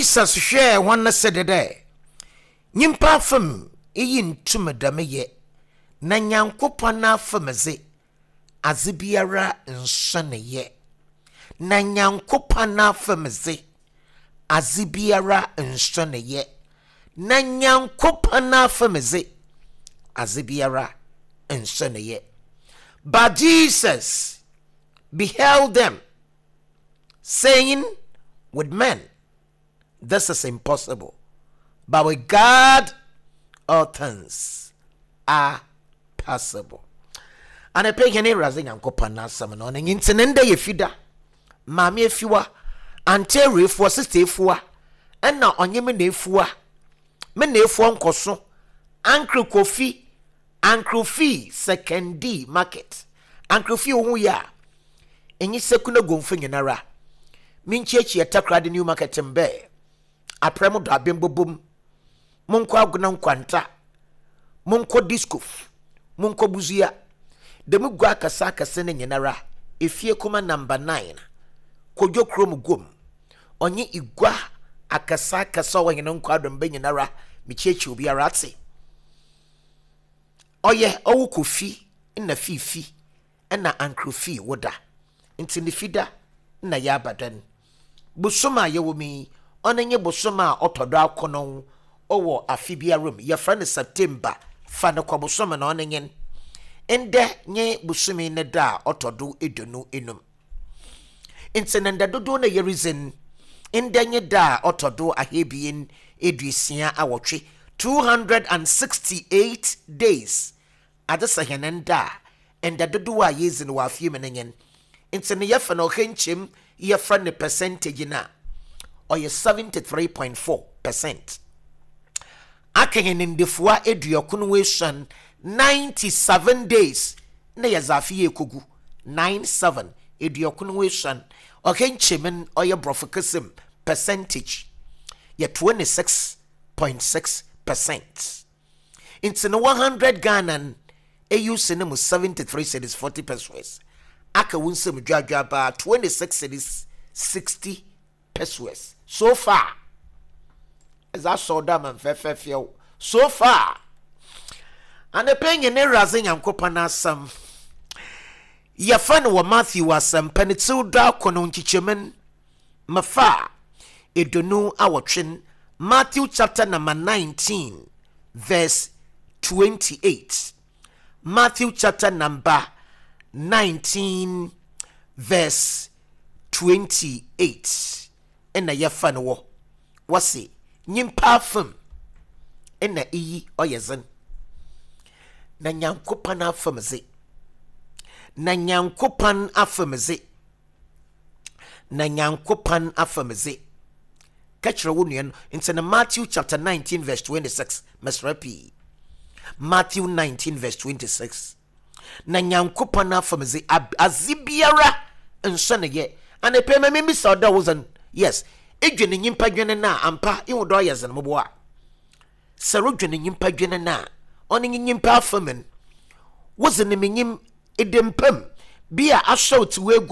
Jesus hwɛɛ hɔn no se dɛ, Nyimpa afamu iyi nntum dɛm yɛ, na Nyankopɔn n'afamu dze, adze biara nnsɔ no yɛ. Na Nyankopɔn n'afamu dze, adze biara nnsɔ no yɛ. Na Nyankopɔn n'afamu dze, adze biara nnsɔ no yɛ. But Jesus beheld them, saying, With men this is impossible, but with God all things are possible. Anɔpa yi hɛn Ewuradze Nyankopɔn n'asɛm no, ɔno nye ntsi ne ndɛ yɛ Fida. Maame Efiwa, Aunty Awuefua, Sister Efua, ɛna ɔnye me na Efua, me na Efua Nkɔso, Uncle Kofi, Uncle Fee, Sekondi Market. Uncle Fee wo ho yɛ a, enye Sekuna Gomfo nyinara. Menkyiakyia Takoradi New Market mbɛ, aprɛ mo dɔ abɛmbobom. Monkɔ Agona Nkwanta, monkɔ Diskof, monkɔ Busia. Dɛm gua akɛse akɛse no nyinara, Efie Kuma Number 9, Kodwo Kurom Guom, ɔnye igua akɛse akɛse a ɔwɔ hɛn nkwadomba nyinara, mekyiakyia obiara atse. Ɔyɛ ɔwo Kofi na Fiifi na Ankrofii wo da, ntsi ne Fida na yɛaba dɛn. Bosoom a yɛwɔ mu yi, ɔno nye bosoom a ɔtɔ do akron wɔ afe biara mu, yɛfrɛ no September, fa no kɔ bosoom no ɔno nye ndɛ nye bosome ne da a ɔtɔ do 25. Ntsi no ndɛ dodow no a yeridzi no, ndɛ nye da a ɔtɔ do 268, 268 days, adze sa hɛn nda a, nda dodow a yeedzi no wɔ afe mu no nye n'. Ntsi no yɛfa no ɔha nkyɛmu yɛfrɛ no percentage no a, ɔyɛ 73.4%. Aka hɛn ndafua 93, 97 days, na yɛdze afe yi ekogu, 97, 93, ɔha nkyɛmu no ɔyɛ Borɔfo kasa mu percentage yɛ 26.6%. Ntsi no 100 Ghana no euse no mu 73 cedis 40 pesewas, aka wo nsamu dwadwaabaa 26 cedis 60 pesewas. So far, edze asɔw do ama me fɛfɛɛfɛw. So far, anapa yi nye n'Ewuradze Nyankopɔn n'asɛm. Yɛfa no wɔ Matthew Asɛmpa ne tsir duakron nkyekyɛmu no Mfa 28, Matthew chapter number 19 verse 28. Matthew chapter number 19 verse 28. Ɛna yɛfa no wɔ wɔse nyimpa afam ɛna iyi ɔyɛ dzen na Nyankopɔn afam dze na Nyankopɔn afam dze na Nyankopɔn afam dze. Ka kyerɛ wo nua no nti no Matthew chapter 19 verse 26 mesrɛ pii. Matthew 19 verse 26 na Nyankopɔn afam dze adze biara nsɔ ne yɛ. Anapɛ ma memmisa ɔdɔ wo dzen. Yes, edwene nyimpa dwene no a ampa ihu dɛ ɔyɛ dzen moboa. Sɛ rodwene nyimpa dwene no a ɔno nye nyimpa afam no. Wodze no minyim ede mpam bi a asɔw tse w'eguam.